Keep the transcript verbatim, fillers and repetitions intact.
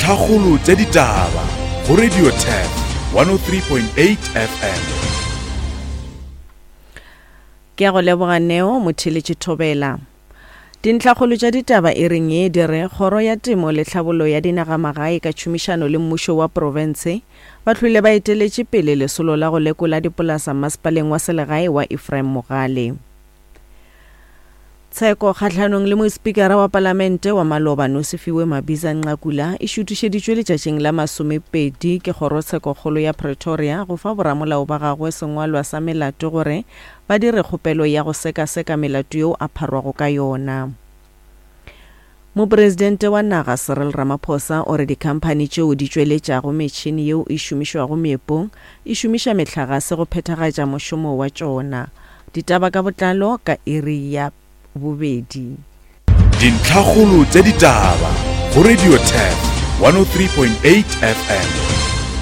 Dintlhakgolo tša ditaba go Radio Turf one oh three point eight F M. Ke a go leboga Neo Motheletše Thobela. Dintlhakgolo tša ditaba e reng ye di re kgoro ya temo le tlhabollo ya dinagamagae ka tšhomišano le mmušo wa profense ba hlwile ba eteletše pele lesolo la go lekola dipolasa masepaleng wa selegae wa Ephraim Mogale. Tsheko kgahlanong le mospikara wa palamente wa maloba Nosiviwe Mabhiza Nqakula e šuthišeditšwe letšatšing la masomepedi ke kgorotshekokgolo ya Pretoria go fa boramolao ba gagwe sengwalwa sa melato gore ba dire kgopelo ya go sekaseka melato yeo a pharwago ka yona. Mopresidente wa naga Cyril Ramaphosa o re dikhamphani tšeo di tšweletšago metšhini yeo e šomišwago meepong e šomiša mehlagase go phethagatša mošomo wa tšona. Ditaba ka botlalo ka iri ya bobedi. Dintlhakgolo tša ditaba go Radio Turf one oh three point eight F M.